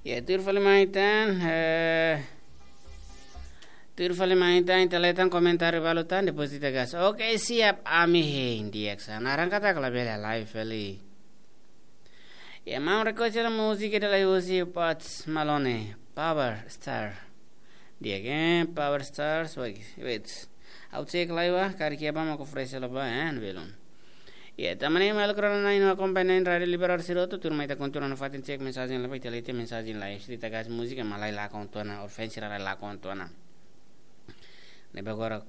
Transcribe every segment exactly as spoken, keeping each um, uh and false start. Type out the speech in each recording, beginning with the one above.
Ya, tuir fali mai tan, eh, tuir fali mai tan, ita leten komentáriu balu tan, depois ita gas. Oke, siap, ami hein di'ak sa. Naran katak labele live fali. Ya, mau request la música de la Uzi Pots Malone, Power Star. Di'ak, eh, Power Star, wait, wait. Au cek lai wa, kari kia ba mau ko fresh la ba, eh, belum. Ya, tanba ne'e maluk rona na'in-rua akompaña na'in Rádio Liberal sira hotu, tuirmai ita kontinua nafatin cek mensajen live, ita leten mensajen live, ita gas música, malai la kontinua, ofensi la la kontinua. Ne'ebé agora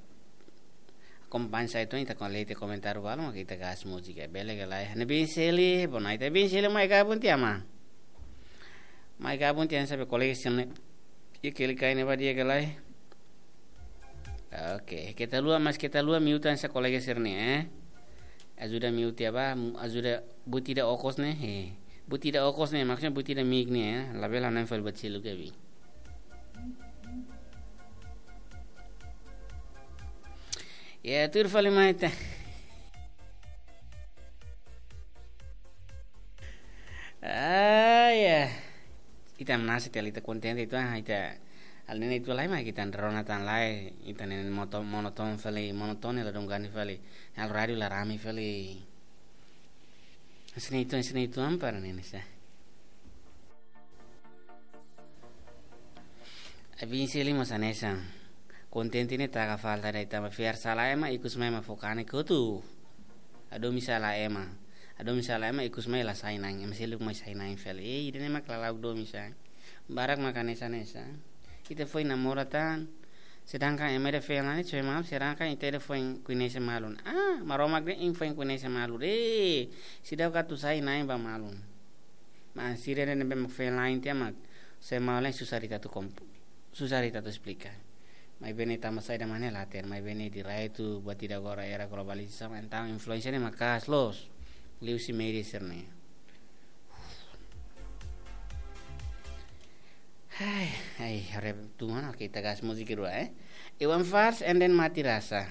akompaña sai tu, ita kon leten komentáriu balu, mak ita gas música, bele ka lae. Ne'e bin seli, bona, ita bin seli mai gabun tiha ma. Mai gabun tiha sabe kolega sira-ne'e. Ita klik kai ne'ebá di'ak ka lae. Oke, keta haluha, mas keta haluha mute hanesan kolega sira-ne'e, eh. Ajuda mute tiha ba, mu-, ajuda buat ida okos ne'e, eh. Buat ida okos ne'e, maksudnya buat ida mic ne'e, eh. Labele hanoin fali buat seluk ke bi. Ya, tuir fali mai tan. Ah, ya. Ita manasa tiha ita kontente ita, ah, ita halo ne'e ita lai mak ita rona tan lai, ita ne'e moto-, monoton fali, monoton la dungani fali. Halo rádiu la rame fali. Sini itu, sini itu ampar ne'e sa. Abin seli mós hanesan. Kontente ne'e taka falta de'it tanba fiar sala ema ikus mai ema fó kanek hotu. Hadomi sala ema. Hadomi sala ema ikus mai la sai na'in. Ema seluk mai sai na'in fali. Eh, ida-ne'e mak la la'o hadomi sa. Barak mak hanesan hanesan. Ita foin namora tan. Sedangkan ema ida feen la'en ne'e, sedangkan ita ida foin koñese malu. Ah, Maromak de'it nia foin koñese malu. Eh, seidauk atu sai na'in ba malu. Mas sira ne'ebé mak feen la'en tiha mak, se mau lain susar ita atu komp-, susar ita atu esplika. Maibé ne'e tanba saida mak ne'e la hatene, maibé ne'e direitu buat ida agora era globalizasaun, entaun influénsia ne'e maka'as loos. Liuhusi média sira-ne'e. Hai, hai, haree tu mana, oke, ita gas música dulu, eh. Iwan Fals and then Mati Rasa.